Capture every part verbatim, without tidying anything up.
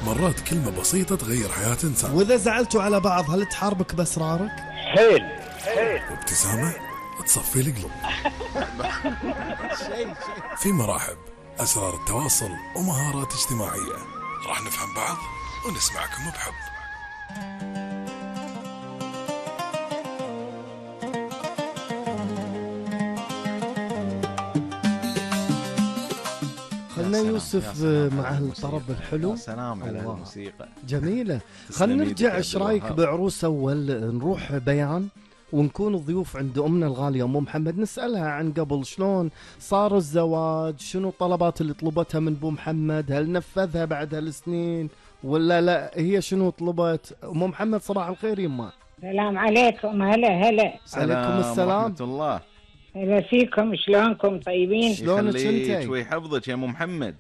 مرات كلمة بسيطة تغير حياة إنسان. وإذا زعلتوا على بعض هل تحاربك بأسرارك؟ حيل حيل. وابتسامة تصفي القلوب. في مراحب أسرار التواصل ومهارات اجتماعية، راح نفهم بعض ونسمعكم بحب. خلنا يوسف مع هالطرب الحلو. سلام على الموسيقى جميلة. خلنا نرجع، ايش رايك بعروس اول نروح بيان ونكون ضيوف عند امنا الغالية ام محمد، نسألها عن قبل شلون صار الزواج، شنو الطلبات اللي طلبتها من ابو محمد، هل نفذها بعد هالسنين ولا لا، هي شنو طلبت. ام محمد صباح الخير يما. السلام عليكم. هلا هلا. عليكم السلام ورحمة الله. هلا فيكم، شلونكم؟ طيبين؟ شلونك انتي؟ ويحفظك يا ام محمد.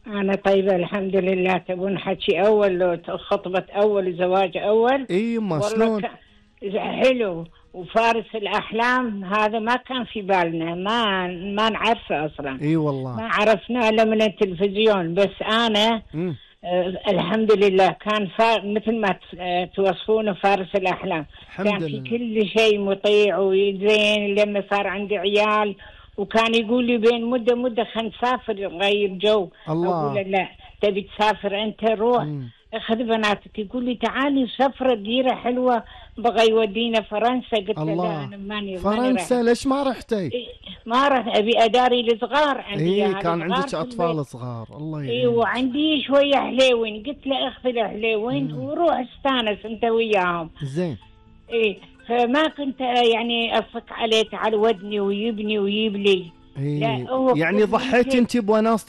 انا طيبه الحمد لله. تبون حكي اول لو خطبه اول زواج اول؟ اي يما شلون؟ حلو وفارس الاحلام هذا ما كان في بالنا، ما ما نعرفه اصلا. اي والله ما عرفناه الا من التلفزيون. بس انا م. آه الحمد لله كان فار مثل ما توصفونه فارس الأحلام. كان في كل شيء مطيع وزين. لما صار عندي عيال وكان يقول لي بين مدة مدة خلينا نسافر نغير جو. الله. أقول له لا تبي تسافر أنت روح م. اخذ بناتك. يقول لي تعالي سفرة ديرة حلوة بغى يودينا فرنسا. قلت له لا أنا ماني فرنسا ماني ليش ما رحتي؟ ما رحت أبي أداري الصغار عندي. إيه كان عندك أطفال صغار. الله يعينك. إيه وعندي شوية حليوين. قلت له اخذ الحليوين وروح استانس أنت وياهم. زين. إيه فما كنت يعني أصك عليه تعال ودني ويبني ويجيب لي. إيه يعني ضحيت أنت بوناس